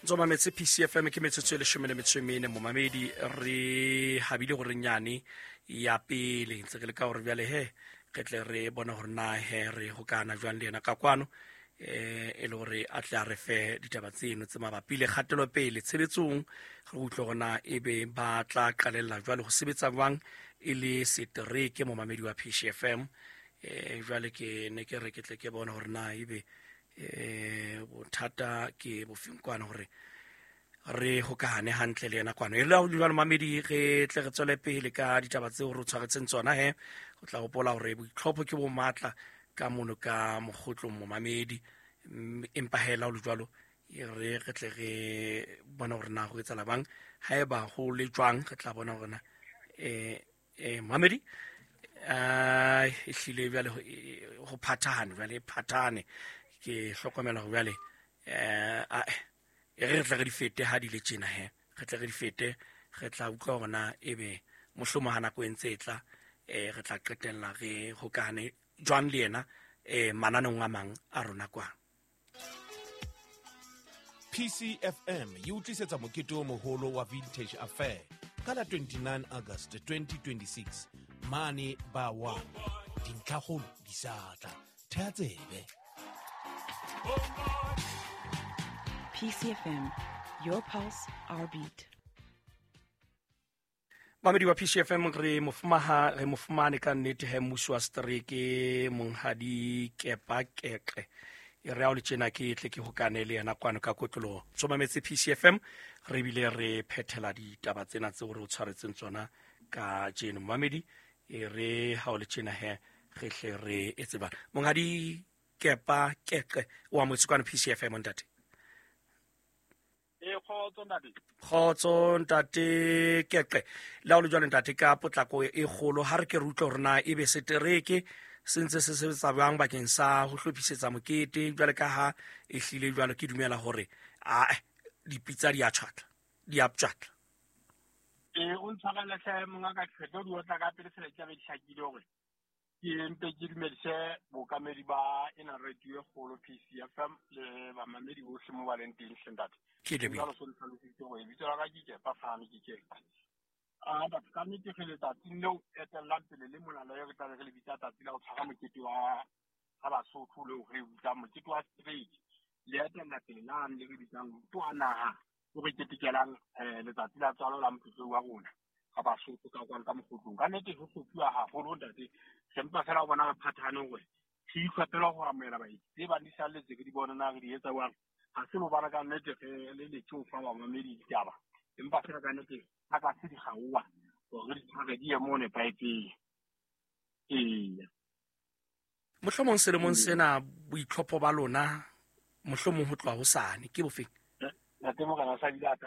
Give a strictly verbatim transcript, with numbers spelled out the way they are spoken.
Ntso mametse P C F M ke metsotso e leshome le metso e mene momamedi re habile hore nyane ya pele ntse re le ka hore jwale he re tle re bona hore na he re hokana jwang le yena ka kwano eh e le hore a tle a re fe ditaba tseno tse mabapi le kgatelopele tshebetsong re utlwe hore na ebe ba tla qalella jwale ho sebetsa jwang e le setereke momamedi wa P C F M eh jwale ke ne ke re ke tle ke bone hore na ebe eh bothata ke bofeng kwana hore re hokahane hantle le yena kwano. E le ha jwale mamedi re tle re tswele pele ka ditaba tseo re tshwaretseng tsona he o tla hopola hore boitlhopho ke bo matla ka mono ka mokgotlong momamedi empa hela ho le jwalo e re re tle re bona hore na ho etsahala bang haeba ho le jwang re tla bona hore na eh eh mamedi a ehlile jwale ho phathahane jwale phathane ke hlokomela hore jwale eh a e re tle re di fete ha di le tjena he re tle re di fete re tla utlwa hore na ebe mohlomo ha nako e ntse e tla eh re tla qetella re hokahane jwang le yena eh mananeng a mang a rona kwa. P C F M e utlisetsa mokete o moholo wa Vintage Affair ka la twenty-nine August twenty twenty-six mane ba wa dintlhakgolo di sa tla thea tsebe. P C F M, your pulse, our beat. Mamedi wa P C F M re mofumaha re mofumane ka nnete he mmuso wa setereke monghadi Kepa Keqe e re ha o le tjena ke tle ke hokane le yena kwano ka kotloloho. So mametse P C F M re bile re phethela ditaba tsena tseo re o tshwaretseng tsona ka tjeno mamedi e re ha o le tjena he re hle re etse bana. Monghadi Kepa Keqe wa motse kwano P C F M ntate. Kgotso ntate. Kgotso ntate Keqe. Le ha o le jwalo ntate ka potlako e kgolo ha re ke re utlwe hore na ebe setereke se ntse se sebetsa jwang bakeng sa ho hlophisetsa mokete jwale ka ha e hlile jwalo ke dumela hore a dipitsa di a tjhatla di a ptjatla. Eh o ntshwarele hle monga ka kgetho di otla ka pele fela ke be di hlakile hore ke mpe ke dumedise bookamedi ba ena radio e kgolo P C F M le bamamedi bohle mo ba leng teng hle ntate. Ke lebohile. Jwalo so ntlhalositse hore lebitso la ka ke Kepa Fane ke Keqe. A batho ka nnete re letsatsing leo etellang pele le mona le re tlabe re le bitsa tsatsi la ho tshwara mokete wa ha Basotho leo re bitsang mokete wa setereke le etella pele lane le re bitsang mokete wa naha o re ketekelang eh letsatsi la tswalo la motlotlo wa rona ga Basotho ka kwano ka mokgotlong. Ka nnete ho hlophiwa haholo ntate re mpa fela ho bona re phathane hore re itlhophela ho amohela baeti tse bang di salletse re di bone na re di etsa jwang. Ha se bobana ka nnete re le letse ho fa bamamedi ditaba empa fela ka nnete ha ka se di gaoa hore di tshware di ye mo nepahetseng. Eya. Mohlomong selemong sena boitlhopho ba lona mohlomong ho tloha hosane ke bofeng? Ntate Morena sa bile a